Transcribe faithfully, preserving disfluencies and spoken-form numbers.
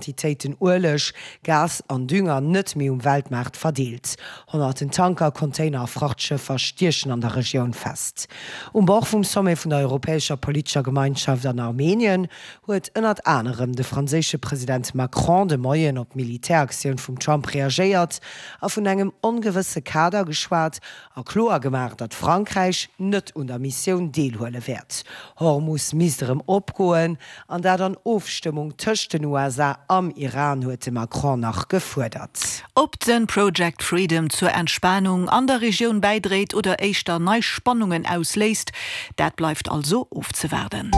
Quantitéiten Ueleg, Gas an Dünger net méi um Weltmaart verdeelt. Honnerten Tanker, Container a Frachtschëffer stiechen an der Regioun fest. Um Bord vum Sommet vun der Europäescher Politescher Gemeinschaft an Armenien huet ënnert anerem de franséische President Macron de Moien op d'Militäraktioun vum Trump reagéiert a vun engem ongewësse Kader geschwat a kloer gemaach, datt Frankräich net un der Missioun deelhuele wäert. Hormus misst erëm opgoen an dat an Ofstëmmung tëscht den U S A am Iran, huet de Macron nach gefuerdert. Ob den Project Freedom zur Entspanung an der Regioun bäidréit oder éischter nei Spannungen ausléist, dat bleift also ofzewaarden.